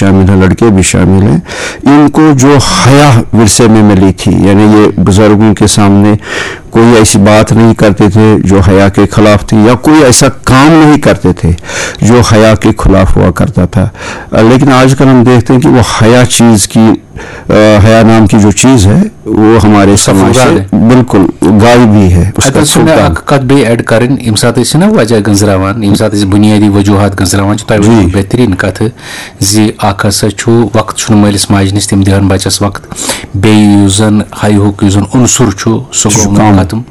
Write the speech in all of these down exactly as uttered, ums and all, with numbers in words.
شامل ہیں، لڑکے بھی شامل ہیں، ان کو جو حیا ورثے میں ملی تھی، یعنی یہ بزرگوں کے سامنے کوئی ایسی بات نہیں کرتے تھے جو حیا کے خلاف تھی، یا کوئی ایسا کام نہیں کرتے تھے جو حیا کے خلاف ہوا کرتا تھا۔ لیکن آج کل ہم دیکھتے ہیں کہ وہ حیا چیز کی، حیا نام کی جو چیز ہے، وہ ہمارے سماج سے بالکل غائب ہی ہے۔ اتھ منٛز چھِ مےٚ اکھ کتھ بیٚیہِ ایڈ کرٕنۍ، ییٚمہِ ساتہٕ أسۍ چھِنہ وجہ گٔنٛزراوان، ییٚمہِ ساتہٕ أسۍ بُنیٲدی وجوہات گٔنٛزراوان چھِ، تۄہہِ ؤنِو بہتریٖن کتھ زِ اکھ ہسا چھُ وقت چھُنہٕ مٲلِس ماجہِ نِش، تِم دِہن بچس وقت، بیٚیہِ یُس زن ہیہُک یُس زن عنصر چھُ، سُہ گوٚو ختم۔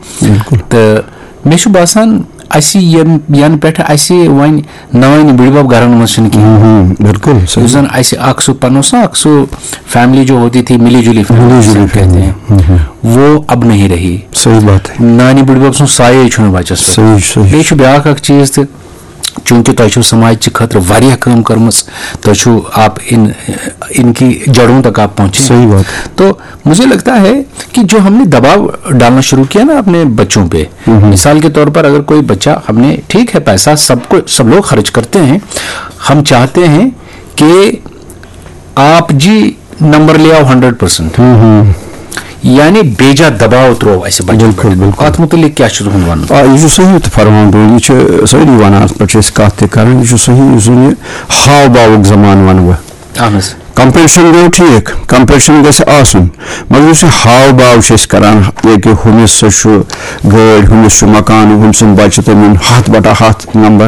تہٕ مےٚ چھُ باسان، اَسہِ یَنہٕ پٮ۪ٹھ اَسہِ وۄنۍ نانۍ بٕڈبب گرن منٛز چھِنہٕ کِہیٖنۍ۔ بالکل۔ یُس زن اَسہِ اکھ سُہ پنُن سُہ اکھ سُہ فیملی جو ہوتی تھی، ملی جُلی فیملی کہتے ہیں، وہ اب نہیں رہی۔ صحیح بات ہے۔ نانہِ بٕڈبب سُنٛد سایے چھُنہٕ بچس پٮ۪ٹھ۔ بیٚیہِ چھُ بیٛاکھ اکھ چیٖز تہِ، چوٗنٛکہِ تۄہہِ چھُو سماج چہِ خٲطرٕ واریاہ کٲم کٔرمٕژ، تۄہہِ چھُو آپ ان ان کی جڑوں تک آپ پہنچے۔ صحیح بات۔ تو مجھے لگتا ہے کہ جو ہم نے دباؤ ڈالنا شروع کیا نا اپنے بچوں پہ، مثال کے طور پر اگر کوئی بچہ، ہم نے، ٹھیک ہے، پیسہ سب کو، سب لوگ خرچ کرتے ہیں، ہم چاہتے ہیں کہ آپ جی نمبر لے آؤ ہنڈریڈ پرسینٹ، یعنی بیجا دباؤ ترٛوو اَسہِ بچن پٮ۪ٹھ۔ بالکل، بالکل۔ اتھ متعلق کیٛاہ چھُ تُہُنٛد ونُن؟ آ، یہِ چھُ صحیح تہِ فرمان بوے، یہِ چھِ سٲری ونان، اتھ پٮ۪ٹھ چھِ أسۍ کتھ تہِ کران، یہِ چھُ صحیح، یُس زن یہِ ہاو باوُک زمانہٕ ونہٕ بہٕ۔ اہن حظ۔ کمپیٹشن گوٚو ٹھیٖک، کمپیٹشن گژھِ آسُن، مگر یُس یہِ ہاو باو چھِ أسۍ کران، ییٚکہِ ہُمِس سُہ چھُ گٲڑۍ، ہُمِس چھُ مکان، ہُمۍ سُنٛد بچہِ تٔمۍ اوٚن ہتھ بٹہ ہتھ نمبر،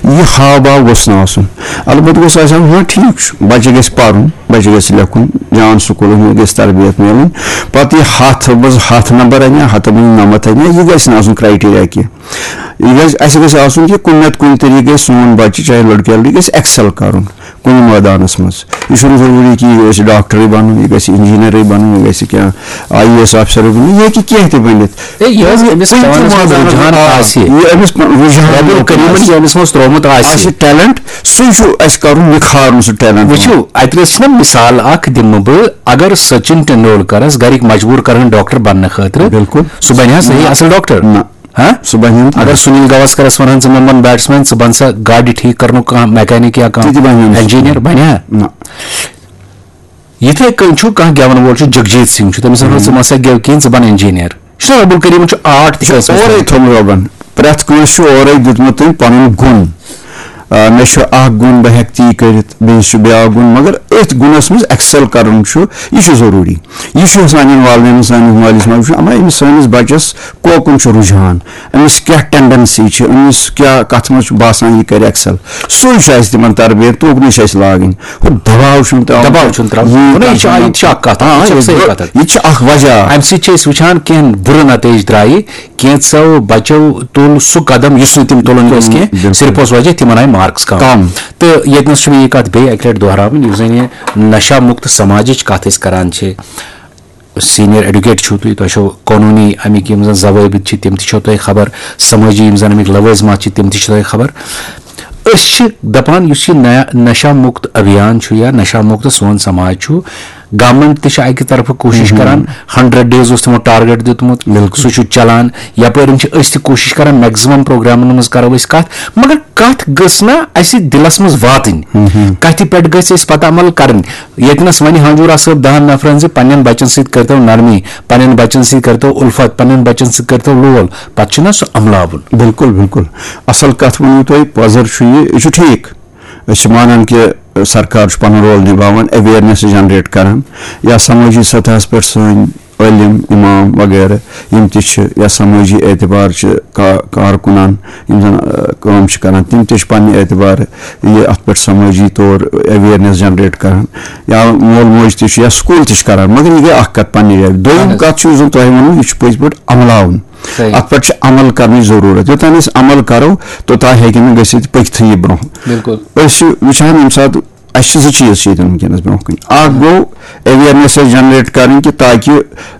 یہِ ہاو باو گوٚژھ نہٕ آسُن۔ البتہ گوٚژھ آسُن، ہاں ٹھیٖک چھُ، بچہِ گژھِ پرُن، بچہِ گژھِ لیکھُن، جان سکوٗلس منٛز گژھِ تربیت میلٕنۍ۔ پتہٕ یہِ ہتھ منٛز ہتھ نمبر انہِ، ہتھ منٛز نمتھ انہِ، یہِ گژھِ نہٕ آسُن کرائٹیریا کینٛہہ۔ یہِ گژھِ، اسہِ گژھِ آسُن کہِ کُنہِ نتہٕ کُنہِ طریٖقہٕ گژھِ سون بچہِ، چاہے لڑکہٕ یا لڑکی، گژھِ ایکسل کرُن کُنہِ مٲدانس منٛز۔ یہِ چھُنہٕ ضروٗری کہِ یہِ گژھِ ڈاکٹرٕے بنُن، یہِ گژھِ انجینئرٕے بنُن، یہِ گژھِ کینٛہہ آئی اے ایس آفسرٕے بنُن، یہِ ہیٚکہِ کینٛہہ تہِ بٔنِتھ۔ ہے، یہِ حظ أمِس کُنہِ تہِ پانَس منٛز مٲدانس رُجحان منٛز، آ، آسہِ۔ یہِ أمِس پا-، رُجحان ربُ الکریٖمن یہِ أمِس منٛز ترٛوومُت آسہِ۔ آسہِ ٹیلنٹ، سُے چھُ اَسہِ کَرُن، نِکھارُن سُہ ٹیلنٹ۔ وٕچھِو، اَتہِ نَس چھِنہ مِثال اَکھ دِمہٕ بہٕ، اگر سچن ٹنڈولکرس گَرِکۍ مجبوٗر کَرہَن ڈاکٹر بننہٕ خٲطرٕ، بالکل۔ سُہ بَنہِ ہا صحیح نہ۔ اَصٕل ڈاکٹر؟ نہ۔ ہاں؟ سُہ بَنہِ ہا نہٕ۔ اگر سنیل گواسکرس وَنہٕ ہن، ژٕ مہ بَن بیٹسمین، ژٕ بَن سا گاڑِ ٹھیٖک کَرنُک کانٛہہ میکینک یا تہِ تہِ بَنہِ ہا کانٛہہ نہٕ سُہ۔ انجینئر، بَنہِ ہا؟ نہ۔ یِتھے کٔنۍ چھُ کانٛہہ گٮ۪وَن وول چھُ، جگجیت سنگھ چھُ، تٔمِس وَنو ژٕ مہ سا گٮ۪و کینٛہہ، ژٕ بَن انجینئر۔ یہِ چھُنہ رب الکریٖمن چھُ آرٹ تہِ یہِ چھُ کٲنٛسہِ منٛز اورَے تھوٚومُت۔ تھوٚومُت رۄبَن۔ پرٛٮ۪تھ کٲنٛسہِ چھُ اورَے دیُتمُت تٔمۍ پَنُن گُن۔ آ، مےٚ چھُ اکھ گُن، بہٕ ہٮ۪کہٕ تی کٔرِتھ، بیٚیِس چھُ بیٛاکھ گُن، مگر أتھۍ گُنَس منٛز ایکسل کَرُن چھُ، یہِ چھُ ضروٗری۔ یہِ چھُ سانٮ۪ن والدینَن، سانِس مٲلِس ماجہِ وٕچھُن، اما أمِس سٲنِس بَچَس کوکُن چھُ رُجحان، أمِس کیٛاہ ٹینڈنسی چھِ، أمِس کیٛاہ، کَتھ منٛز چھُ باسان یہِ کَرِ ایکسل۔ سُے چھُ اَسہِ تِمَن تربیت، توکُنُے چھِ اَسہِ لاگٕنۍ۔ ہُہ دباو چھُنہٕ ترٛاوُن۔ دباو چھُنہٕ ترٛاوُن۔ یہِ نہ، یہِ چھِ، کَتھ یہِ تہِ چھِ اَکھ کَتھ، آ، یہِ چھِ یہِ صحیح گوٚو، کَتھ۔ یہِ تہِ چھِ اَکھ وجہ۔ اَمہِ سۭتۍ چھِ أسۍ وٕچھان کینٛہہ بُرٕ نتٲیِج درٛایہِ، کینٛژو بَچو تُل سُہ قدم یُس نہٕ تِم تُلُن گژھِ کینٛہہ، بِلکُل۔ صرف اوس وجہ تِمَن آیہِ مارکس کَم۔ کَم۔ تہٕ ییٚتہِ نَس چھُ مےٚ یہِ کَتھ بیٚیہِ اَکہِ لَٹہِ دۄہراوٕنۍ، یُس زَن یہِ نشہ مُکت سماجٕچ کَتھ أسۍ کَران چھِ، سینئر ایڈوکیٹ چھِو تُہۍ، تۄہہِ چھو قونوٗنی اَمِکۍ یِم زَن ضوٲبط چھِ، تِم تہِ چھو تۄہہِ خبر، سمٲجی یِم زَن اَمِکۍ لوٲزمات چھِ، تِم تہِ چھِ تۄہہِ خبر۔ أسۍ چھِ دَپان، یُس یہِ نیا-، نشہ مُکت ابھیان چھُ یا نشہ مُکت سون سماج چھُ، گورمنٹ تہِ چھِ اَکہِ طرفہٕ کوٗشِش کران، ہنڈریڈ ڈیز اوس تِمو ٹارگیٹ دیُتمُت، بِلکُل۔ سُہ چھُ چلان، یَپٲرۍ چھِ أسۍ تہِ کوٗشِش کران، میکزِمم پروگرامن منٛز کرو أسۍ کَتھ، مگر کَتھ گٔژھ نہ اَسہِ دِلس منٛز واتٕنۍ، کَتھِ پٮ۪ٹھ گٔژھ اَسہِ پتہٕ عمل کرٕنۍ۔ ییٚتہِ نَس وَنہِ ہانجورا صٲب دَہَن نفرَن زِ پننٮ۪ن بَچَن سۭتۍ کٔرۍتو نرمی، پننٮ۪ن بَچَن سۭتۍ کٔرۍتو اُلفت، پننٮ۪ن بَچَن سۭتۍ کٔرۍتو لول، پَتہٕ چھُنہ سُہ عملاوُن۔ بِلکُل، بِلکُل۔ اَصٕل کَتھ ؤنِو تۄہہِ، پۄزر چھُ یہِ، یہِ چھُ ٹھیٖک۔ أسۍ چھِ مانان کہِ سرکار چھُ پَنُن رول نِباوان، awareness generate کران، یا سمٲجی سطحس پٮ۪ٹھ سٲنۍ عٲلِم، اِمام وغیرہ یِم تہِ چھِ، یا سمٲجی اعتبار چھِ کا-، کارکُنان یِم زَن، آ، کٲم چھِ کران، تِم تہِ چھِ پننہِ اعتبار یہِ اَتھ پٮ۪ٹھ سمٲجی طور awareness generate کران، یا مول موج تہِ چھُ یا سکوٗل تہِ چھُ کران، مگر یہِ گٔے اکھ کتھ پننہِ جایہِ۔ دوٚیِم اہن حظ۔ کتھ چھُ، یُس زن تۄہہِ ووٚنوُ، یہِ چھُ پٔزۍ پٲٹھۍ عملاوُن۔ صحیح۔ اتھ پٮ۪ٹھ چھُ عمل کرنٕچ ضروٗرت۔ یوٚتام أسۍ عمل کرو، توٚتام ہیٚکہِ نہٕ گٔژھِتھ پٔکۍتھٕے یہِ برونٛہہ۔ بِلکُل۔ أسۍ چھِ وٕچھان، ییٚمہِ ساتہٕ اَسہِ چھِ زٕ چیٖز چھِ ییٚتٮ۪ن وٕنکیٚنَس برونٛہہ کُن۔ اَکھ گوٚو awareness اَسہِ generate کَرٕنۍ کہِ تاکہِ،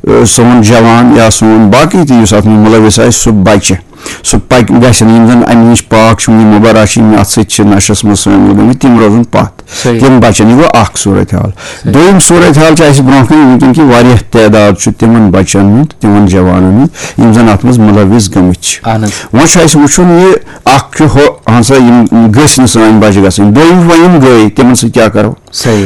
ٲ، سون جوان یا سون باقٕے تہِ یُس اَتھ منٛز مُلوِث آسہِ، سُہ بَچہِ۔ سُہ پَکہِ گژھِ نہٕ، یِم زَن اَمہِ نِش پاک چھِ، یِم مُبرا چھِ، یِم اَتھ سۭتۍ چھِ نَشَس منٛز شٲمِل گٔمٕتۍ، تِم روزَن پَتھ۔ صحیح۔ تِم بَچَن۔ یہِ گوٚو اَکھ صوٗرت حال۔ دوٚیِم صوٗرت حال چھِ اَسہِ برونٛہہ کَنہِ وٕنکٮ۪ن کہِ واریاہ تعداد چھُ تِمَن بَچَن ہُنٛد، تِمَن جوانَن ہُنٛد، یِم زَن اَتھ منٛز مُلوِث گٔمٕتۍ چھِ۔ اہن حظ۔ وۄنۍ چھُ اَسہِ وٕچھُن یہِ اَکھ چھُ ہُہ، اَہَن سا، یِم گٔژھۍ نہٕ سٲنۍ بَچہِ گژھٕنۍ۔ دوٚیِم، وۄنۍ یِم گٔے، تِمَن سۭتۍ کیٛاہ کَرو؟ صحیح۔